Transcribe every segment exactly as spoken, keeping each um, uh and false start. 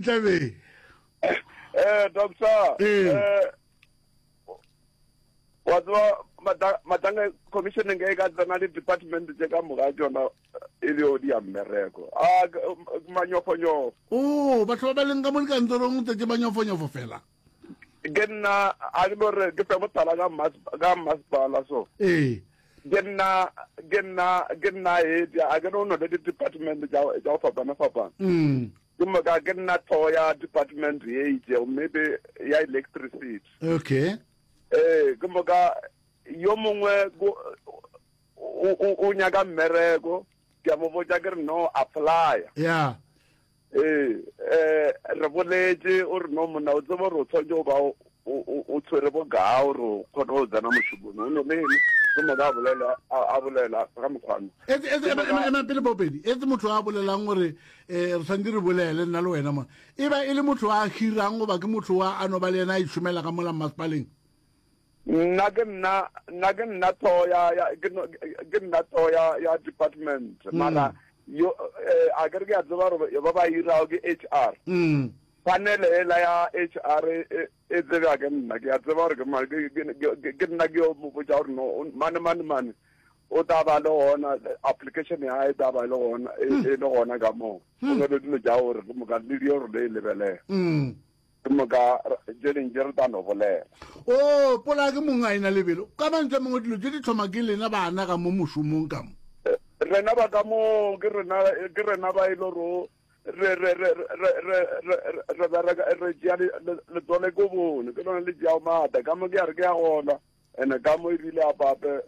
Tlabe. Eh doctor. Ee. Eh wa tseba Mata- Matanga commission nge e ka tsena le department tše ka moka tšona e le o di ya mmereko. A ke- manyofonyofo. O batho ba ba leng ka mo dikantorong tse ke manyofonyofo fela. Ke nna a ke no re ke fe mohlala ka mas- ka masepala so. Ee. Ke nna ke nna ke nna head a ke no no le di-department tša tša go fapana fapana. Mm. Ke moka ke nna tlhogo ya department ye itšego maybe ya electricity. Okay. Ee, ke moka yo mongwe ko- o o- o nyaka mmereko ke a mo botša ke re no apply. Yeah. Ee, eh re boletše o re no monna o tsebe gore o tshwanetse go ba o o o tshwere bokaa gore o kgone go tsena mošomong o no lene ke moka a bolela a a bolela ka mokgwano. Etse etse ema ema ema pele popedi. Etse motho a bolelang gore eh re tshwanetse re bolele nna le wena mo. E ba e le motho a hirang goba ke motho wa a no ba le yena a itšhomela ka mola mmasepaleng. Nna ke nna nna ke nna tlhogo ya ya ke no- ke nna tlhogo ya ya department mara yo eh, a ke re ke a tseba gore ba ba irago ke H R. Mm. Panel ela ya H R e e- e tsebja ke nna ke a tseba gore ke mang ke ke- ke- ke nna ke yo mo botša gore no o- mane mane mane o tla ba le gona application ya hae e tla ba le gona e e le gona ka moo o ngwale dilo tša gore ke moka le di gore le e lebelela Mm. ke moka tše dingwe tše re tla no bolela. O pola ke mong a ena lebelo. Ka mantswe a mangwe dilo tše di thoma ke lena bana ka mo mošomong ka mo. Rena ba ka mo ke rena ke rena ba e le gore re re re re re re re bereka re tšea letswalo ko bone ke lona le tšeago maatla ka mo ke ya re ke ya gona ene ka mo ebile apape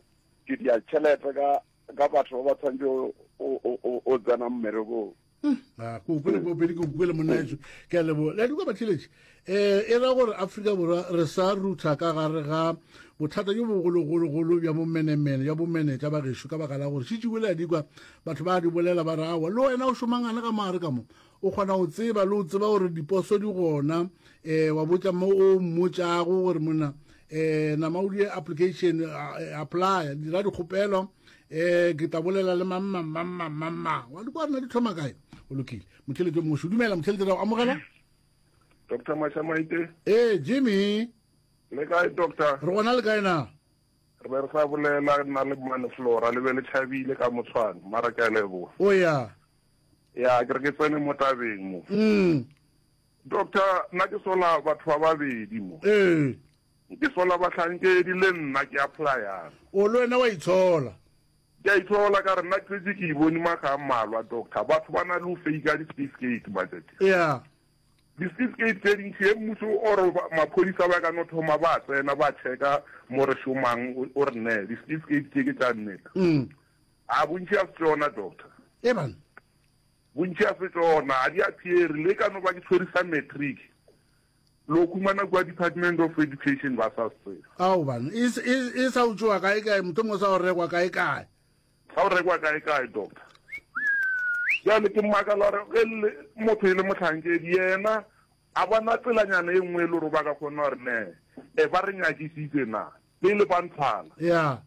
ke dia tšhelete ka ka batho ba ba tshwanetse o o o tsena mmerekong. A ko kwele popedi ke kwele monna etsho ke a leboga. Le a di kwa batheletši eh e ra gore Afrika Borwa re sa rutha ka gare ga bothata jo bogologologolo bja bomenemene bja bomenetša ba gešo ka baka la gore šitšiwe le a di kwa batho ba di bolela ba re awa le wena o šomangane ka mogare ka mo o kgona go tseba le o tseba gore diposo di gona eh wa botša mo o mmotšago gore monna eh nama o die application apply dira dikgopelo eh ke tla bolela le mang mang mang mang mang mang wa di kwa rena di thoma kae o lokile motheletši o mongwe dumela motheletši ra o amogela Doctor Mashamaite. Ee Jimmy. Le kae doctor? Re gona le kae na? Re be re sa bolela nna le Mmane Flora le be le tšhabile ka motshwane mara ke a leboga. O ya. Ya ke re ke tsene mo tabeng mo. Mm. Doctor nna ke sola batho ba babedi mo. Ee. Ke sola bahlankedi le nna ke applyang. O le wena wa itshola. Ke a itshola ka re nna ke setse ke e bone makga a mmalwa doctor batho ba na le go fake di-certificate matšatši. Ya. Di-certificate tše dintši ge mmušo or maphodisa ba ka no thoma ba tsena ba checka mo re šomang o re ne di-certificate tše ke tša nnete. Mm. A bontši a se tšona doctor. E bana. Bontši a se tšona a di appear le ka no ba ke tshwere sa matric. Lo khumana kua Department of Education ba sa se tsebe. Ao bana e e e sa o tšoa kae kae mohlomongwe sa o rekwa kae kae. Sa o rekwa kae kae doctor. Bjale ke makala gore ge le motho e le mohlankedi yena a bona tselanyana e nngwe e le gore ba ka kgona gore ne e ba re nyakisitse na pele ba nthwala. Ya.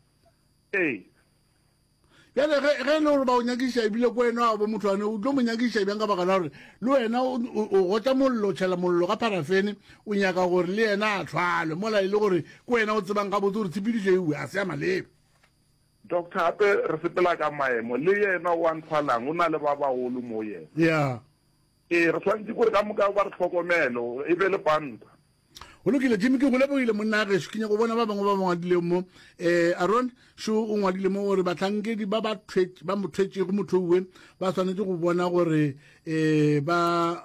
Ee. Bjale ge ge e le gore ba o nyakiša ebile ko wena wa bo motho ane o tlo mo nyakiša bjang ka baka la gore le wena o o gotša mollo o tšhela mollo ka parafene o nyaka gore le yena a thwalwe mola e le gore ke wena o tsebang gabotse gore tshepedišo ewe a se ya maleba. Doctor gape re sepela ka maemo le yena o a nthwalang o na le ba bagolo mo yena. Ya. Ee re swanetše gore ka moka ba re hlokomele e be le panta. Go lokile Jimmy ke go lebogile monna gešo ke nyaka go bona ba bangwe ba ba ngwadileng mo eh Aaron šo o ngwadile mo gore bahlankedi ba ba thwetše ba mo thwetšego motho uwe ba swanetše go bona gore eh ba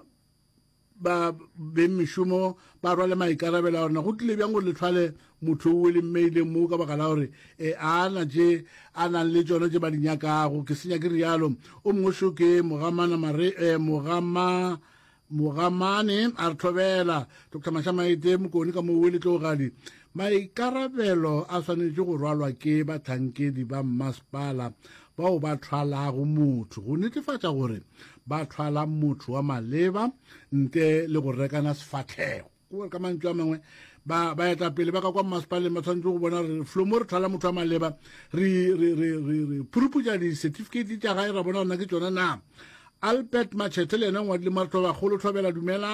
ba beng mešomo ba rwale maikarabelo a rena go tlile bjang gore le thwale motho o le mmeileng mo ka baka la gore eh, a na tše a nang le tšona tše ba di nyakago ke senya ke rialo o mongwe šo ke mogamana mare eh, mogama mogamane a re thobela Doctor Mashamaite Mokone ka moo le tlogadi maikarabelo a swanetše go rwalwa ke bahlankedi ba mmasepala bao ba thwalago motho go netefatša gore ba thwala motho wa maleba ntle le go rekana sefahlego gore ka mantšu a mangwe ba ba etapele ba ka kwa mmasepaleng ba tshwanetse go bona re flo mo re thwala motho wa maleba re re re re re phuruputša di-certificate tša gae ra bona gona ke tšona na Albert Machete le yena o ngwadile mo a re, Thobakgolo Thobela dumela.